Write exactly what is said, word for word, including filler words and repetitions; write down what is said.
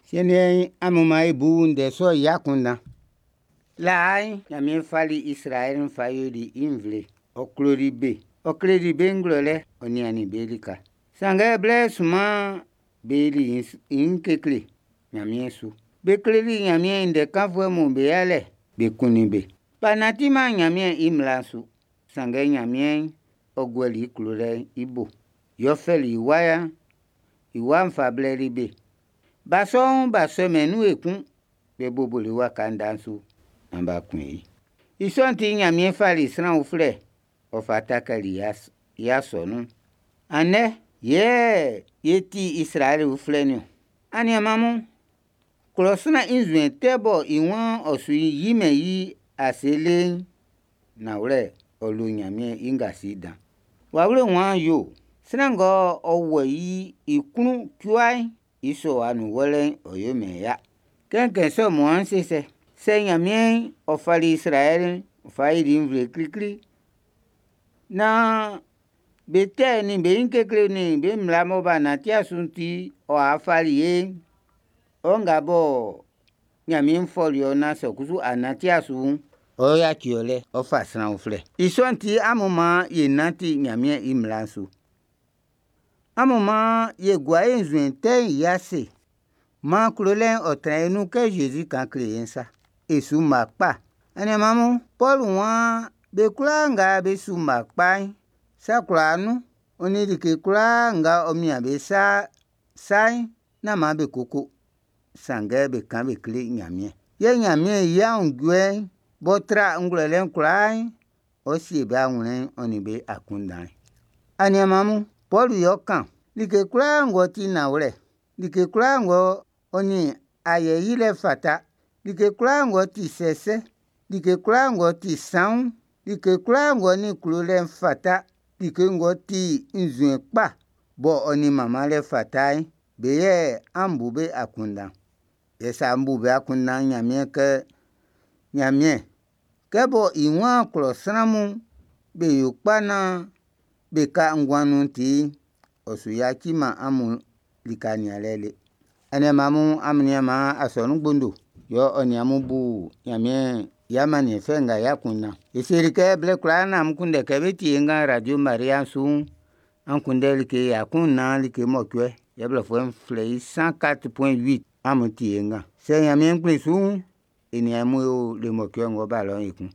Siɛn'n, amun man e bu ndɛ sɔ'n i akunndan. Laa'n, Ɲanmiɛn fali Izraɛli fa yoli i nvle. Ɔ kloli be, ɔ kleli be ngwlɛlɛ, ɔ niannin be lika. Sanngɛ blɛ sunman'n, be yoli ɲin kekle Ɲanmiɛn su. Be kleli Ɲanmiɛn i ndɛ kanfuɛ mun be yalɛ, be kunnin be. B'a nantiman Ɲanmiɛn i mmla'n su. Sanngɛ Ɲanmiɛn, ɔ guɛli i klolɛ'n i bo. Yɛ ɔ fɛli i wa'n, i wa'n fa blɛli be. Ba sɔ'n, b'a sɔmɛn i nun ekun. Be boboli i waka ndɛ'n su naan b'a kun i. I sɔ'n ti Ɲanmiɛn fali sran uflɛ, ɔ fa takali i asɔnun'n. Andɛ yɛ e ti Izraɛli uflɛ'n niɔn. Aniaan mun, klɔ sran i nzuɛn tɛ mɔ i waan ɔ su yimɛn i ase le'n, nanwlɛ, ɔ lo Ɲanmiɛn i ngasi dan. Wawle'n waan yo, sran nga ɔ wɔ i klun cua'n, i sɔwa'n nun wɔlɛ'n ɔ yomɛn i ya. Kɛ n kɛn i sɔ mɔ n se sɛ? Sɛ Ɲanmiɛn ɔ fali Izraɛli fa yoli i nvle klikli naan be tɛ'n nin be ɲin kekle nin be mmla mɔ b'a nantiman su'n ti ɔ fali ye'n, ɔ nga bɔ Ɲanmiɛn fɔli ɔ naan sɛ kusu a nantiman su'n, ɔ yaci ɔ lɛ, ɔ fa sran uflɛ. I sɔ'n ti, amun maan e nanti Ɲanmiɛn i mmla'n su. Amun maan e gua e nzuɛn tɛ'n i ase. Maan klolɛ'n ɔ tran e nun kɛ Zezi kan kle e'n sa. E su mma kpa. Aniaan mun, Pɔlu waan be kwlaa nga be su mma kpa'n, sa kwlaa nun, ɔ nin like kwlaa nga ɔ mian be sa'n, nán maan be koko, sanngɛ be kan be kle Ɲanmiɛn. Yɛ Ɲanmiɛn i aunjuɛ'n b'ɔ tra ngwlɛlɛ'n kwlaa'n, ɔ sie be awlɛn'n ɔ nin be akunndan'n. Aniaan mun, Pɔlu yɛ ɔ kan like kwlaa ng'ɔ ti nanwlɛ, like kwlaa ng'ɔ nin ayɛ yilɛ fata, like kwlaa ng'ɔ ti sɛsɛ, like kwlaa ng'ɔ ti sanwun'n, like kwlaa ng'ɔ nin klolɛ fata, like ng'ɔ ti nzuɛn kpa bɔ ɔ nin manmanlɛ fata'n, be yɛ an bu be akunndan. Yɛ sɛ an bu be akunndan'n, Ɲanmiɛn kɛ Ɲanmiɛn, kɛ bɔ i waan klɔ sran'm be yo kpa naan be ka nguan nun'n ti'n, ɔ su yaciman amun lika nianlɛ le. Aniaan mun, amun nian maan asɔnun gbondo, yɛ ɔ nin amun bu Ɲanmiɛn i amanniɛn fɛ nga i akunndan. E seli kɛ blɛ kwlaa naan amun kunndɛ kɛ bé tíe nga Radio Maria su'n, an kunndɛ like ya kun nnan like mɔcuɛ, yɛ blɔfuɛ'n flɛ i cent quatre point huit amun tie nga. Sɛ Ɲanmiɛn kplin su'n, e nin amun e o le mɔcuɛ ng'ɔ́ bá lɔ'n ekun.